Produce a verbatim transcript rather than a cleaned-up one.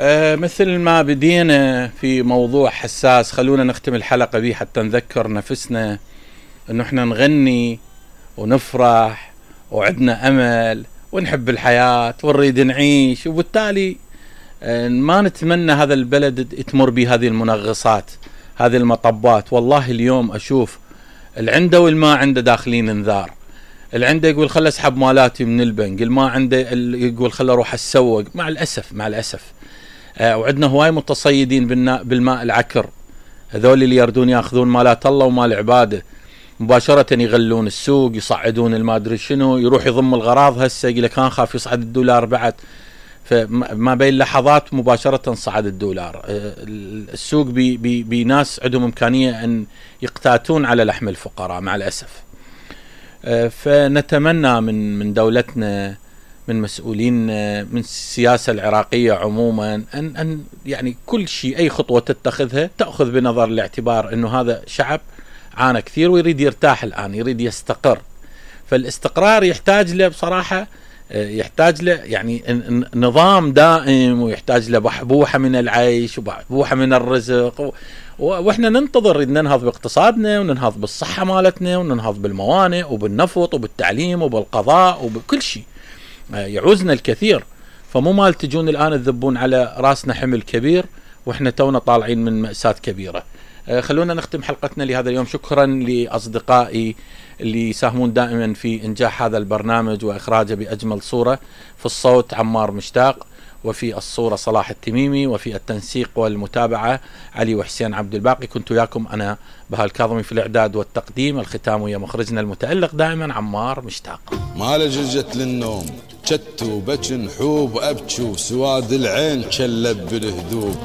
أه مثل ما بدينا في موضوع حساس، خلونا نختم الحلقة به حتى نذكر نفسنا انه احنا نغني ونفرح وعدنا امل ونحب الحياة ونريد نعيش، وبالتالي أه ما نتمنى هذا البلد تمر بهذه المنغصات، هذه المطبات. والله اليوم اشوف اللي عنده والما عنده داخلين انذار، اللي عنده يقول خل اسحب مالاتي من البنك، اللي ما عنده يقول خل اروح اسوق. مع الاسف مع الاسف آه وعندنا هواي متصيدين بالماء العكر، هذول اللي يردون ياخذون مالات الله ومال عباده مباشرة، يغلون السوق، يصعدون المادري شنو، يروح يضم الغراض. هسه يقول لك كان خاف يصعد الدولار بعد، فما بين لحظات مباشرة صعد الدولار. آه السوق بي بي بناس عندهم امكانية ان يقتاتون على لحم الفقراء مع الاسف. آه فنتمنى من من دولتنا، من مسؤولين، من السياسة العراقية عموما أن أن يعني كل شيء أي خطوة تتخذها تأخذ بنظر الاعتبار أنه هذا شعب عانى كثير ويريد يرتاح الآن، يريد يستقر. فالاستقرار يحتاج له بصراحة، يحتاج له يعني نظام دائم، ويحتاج له بحبوحة من العيش وبحبوحة من الرزق. واحنا ننتظر ان ننهض باقتصادنا وننهض بالصحة مالتنا وننهض بالموانئ وبالنفط وبالتعليم وبالقضاء وبكل شيء، يعوزنا الكثير. فمو مال تجون الآن تذبون على راسنا حمل كبير واحنا تونا طالعين من مأساة كبيرة. خلونا نختم حلقتنا لهذا اليوم. شكرا لأصدقائي اللي يساهمون دائما في إنجاح هذا البرنامج وإخراجه بأجمل صورة. في الصوت عمار مشتاق، وفي الصورة صلاح التميمي، وفي التنسيق والمتابعة علي وحسين عبد الباقي. كنت وياكم أنا بهاء الكاظمي في الإعداد والتقديم. الختام ويا مخرجنا المتألق دائما عمار مشتاق. ما لجلجت للنوم شتو بجن حوب أبكو، سواد العين شلب بالهدوب.